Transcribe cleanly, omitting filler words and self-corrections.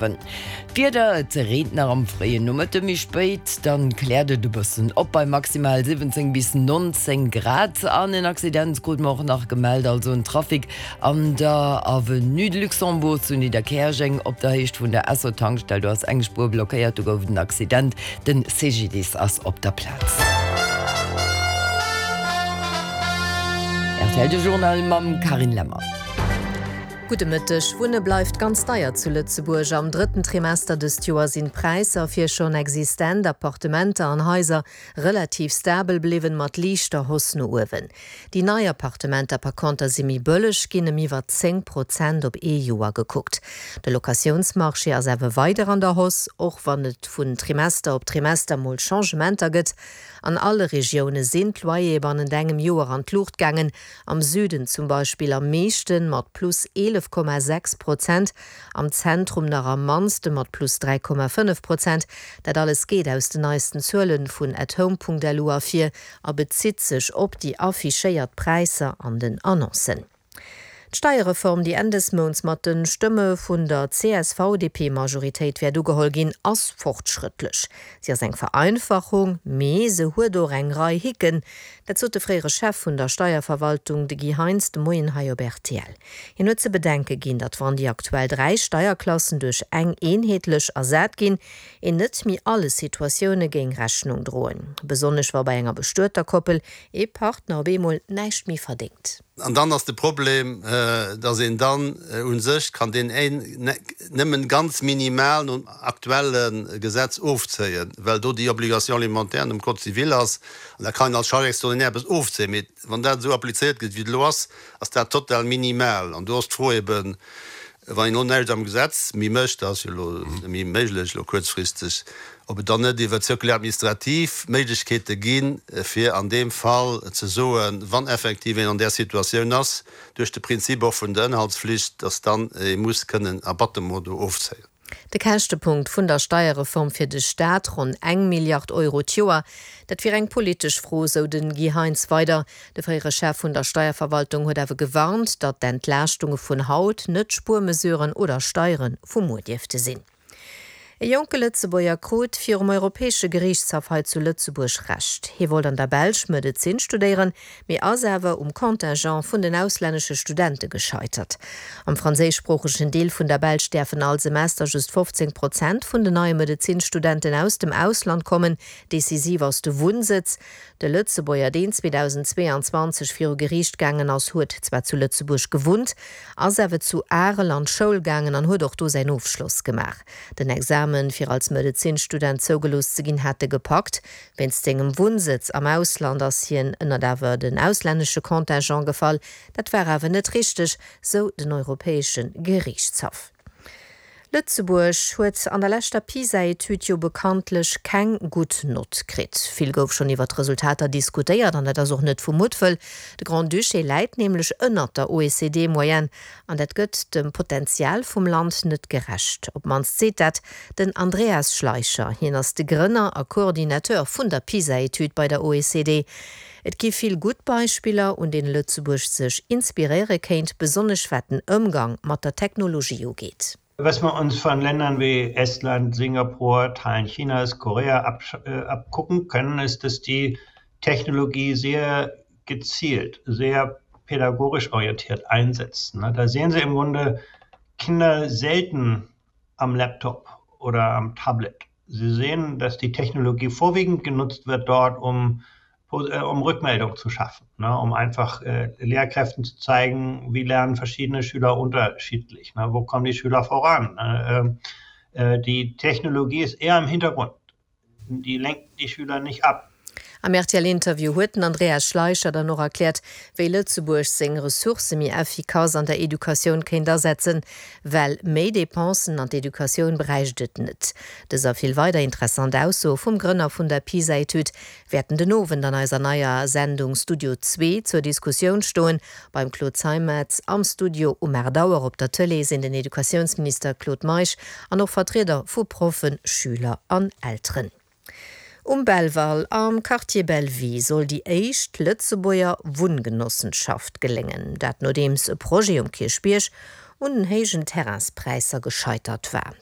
D'Wieder, Et reent nach am fréien Nomëtte, méi spéit dann kläert et e bëssen op bei maximal 17 bis 19 Grad. An en Accident krute mer och nach gemellt, also en Trafic an der Avenue de Luxembourg zu Nidderkäerjeng op der Héicht vun der Esso Tankstell. Do ass eng Spuer blockéiert, do gouf et en Accident. Den CGDIS ass op der Plaz. Rtl, de Journal mam Carine Lemmer. Gudde Mëtteg. Wunne bleift ganz deier zu Lëtzebuerg. Am drëtten Trimester dëst Joer sinn d'Präisser fir schonn existent Appartementer an Haiser relativ stabel bliwwen, mat liichter Hausse no uewen. Déi nei Appartementer par conter si méi bëlleg ginn, ëm iwwer 10 Prozent op ee Joer gekuckt. De Locatiounsmarché ass awer weider an der Hausse, och wann et vun Trimester op Trimester mol Changementer gëtt. An alle Regioune sinn d'Loyere bannent engem Joer an d'Luucht gaangen, Am Süden zum Beispill am meeschten, mat plus 11,6 Prozent, am Zentrum nach am mannste mat plus 3,5 Prozent. Dat alles geet aus den neisten Zuele vun atHome.lu ervir a bezitt sech op déi affichéiert Präisser an den Annoncen. D'Steierreform, déi Enn des Mounts mat de Stëmme vun der CSV-DP-Majoritéit wäert ugeholl ginn, ass fortschrëttlech. Si ass eng Vereinfachung, mee se huet och eng Rei Hicken. Dat sot de fréiere Chef vun der Steierverwaltung, de Guy Heintz, de Moien hei op rtl. Hien huet ze bedenke ginn, datt wann déi aktuell 3 Steierklassen duerch eng eenheetlech ersat ginn, een net méi alle Situatioune géing Rechnung droen. Besonnesch wa bei enger bestueter Koppel ee Partner op eemol näischt méi verdéngt. An dann ass de Problem, datt een dann u sech kann deen een nëmmen ganz minimal nom aktuelle Gesetz ofzéien, well do déi Obligation alimentaire nom Code civil ass. An da kann een als Charge extraordinaire eppes ofzéien. Mee wann dat esou applizéiert gëtt, wéi et elo ass, ass dat total minimal. An do ass d'Fro eben, wann een elo näischt am Gesetz méi mécht, dat ass jo elo net méi méiglech elo kuerzfristeg, ob et dann net iwwer d'Circulaire administrative Méiglechkeete ginn, fir an deem Fall ze soen, wann effektiv een an där Situatioun ass, duerch de Prinzip och vun der Ënnerhaltsflicht, dass dann ee muss kënnen Abattement do ofzéien. De Käschtepunkt vun der Steierreform fir de Staat, ronn eng Milliard Euro d'Joer, dat wier eng politesch Fro, sou de Guy Heintz weider. De fréiere Chef vun der Steierverwaltung huet awer gewarnt, datt d'Entlaaschtunge vun haut net d'Spuermesuren oder Steiere vu muer dierfte sinn. E jonke Lëtzebuerger krut virum Europäesche Geriichtshaff hei zu Lëtzebuerg Recht. Hie wollt an der Belsch Medezin studéieren, mee ass awer um Contingent vun den auslännesche Studente gescheitert. Am franséischsproochegen Deel vun der Belsch däerfen all Semester just 15 Prozent vun den neie Medezinstudenten aus dem Ausland kommen. Decisiv ass de Wunnsëtz. De Lëtzebuerger, deen 2022 viru Geriicht gaangen ass, huet zwar zu Lëtzebuerg gewunnt, ass awer zu Arel an d'Schoul gaangen an huet och do säin Ofschloss gemaach. Den Examen, fir als Medezinstudent zougelooss ze ginn, hat e gepackt. Wéinst sengem Wunnsëtz am Ausland ass hien ënnert awer den auslännesche Contingent gefall. Dat war awer net richteg, sou den Europäesche Geriichtshaff. Lëtzebuerg huet an der leschter PISA-Etüd jo bekanntlech keng gutt Nott kritt. Vill gouf schonn iwwer d'Resultater diskutéiert an dat ass och net vu Muttwëll. De Grand-Duché läit nämlech ënnert der OECD-Moyenne an dat gëtt dem Potenzial vum Land net gerecht. Op d'mannst seet dat den Andreas Schleicher. Hien ass de Grënner a Coordinateur vun der PISA-Etüd bei der OECD. Et gi vill gutt Beispiller, un deene Lëtzebuerg sech inspiréiere kéint, besonnesch wat den Ëmgang mat der Technologie ugeet. Was wir uns von Ländern wie Estland, Singapur, Teilen Chinas, Korea abgucken können, ist, dass die Technologie sehr gezielt, sehr pädagogisch orientiert einsetzen. Da sehen Sie im Grunde Kinder selten am Laptop oder am Tablet. Sie sehen, dass die Technologie vorwiegend genutzt wird dort, um, äh, um Rückmeldung zu schaffen, ne? um einfach äh, Lehrkräften zu zeigen, wie lernen verschiedene Schüler unterschiedlich, ne? wo kommen die Schüler voran. Ne? Ähm, äh, die Technologie ist eher im Hintergrund. Die lenkt die Schüler nicht ab. Am RTL-Interview huet den Andreas Schleicher dann och erkläert, wéi Lëtzebuerg seng Ressourcë méi effikass an der Educatioun kéint asetzen, well méi Depensen an d'Educatioun bräicht et net. Dës a vill weider interessant Aussoe vum Grënner vun der PISA-Etüd wäerten den Owend an eiser neier Sendung Studio Zwee zur Diskussioun stoen. Beim Claude Zeimetz am Studio um 8 Auer op der Tëlee sinn den Educatiounsminister Claude Meisch an och Vertrieder vu Proffen, Schüler an Elteren. Um Belval am Quartier Bellevue soll déi éischt Lëtzebuerger Wunngenossenschaft geléngen. Dat nodeems e Projet um Kierchbierg un den héijen Terrainspräisser gescheitert war.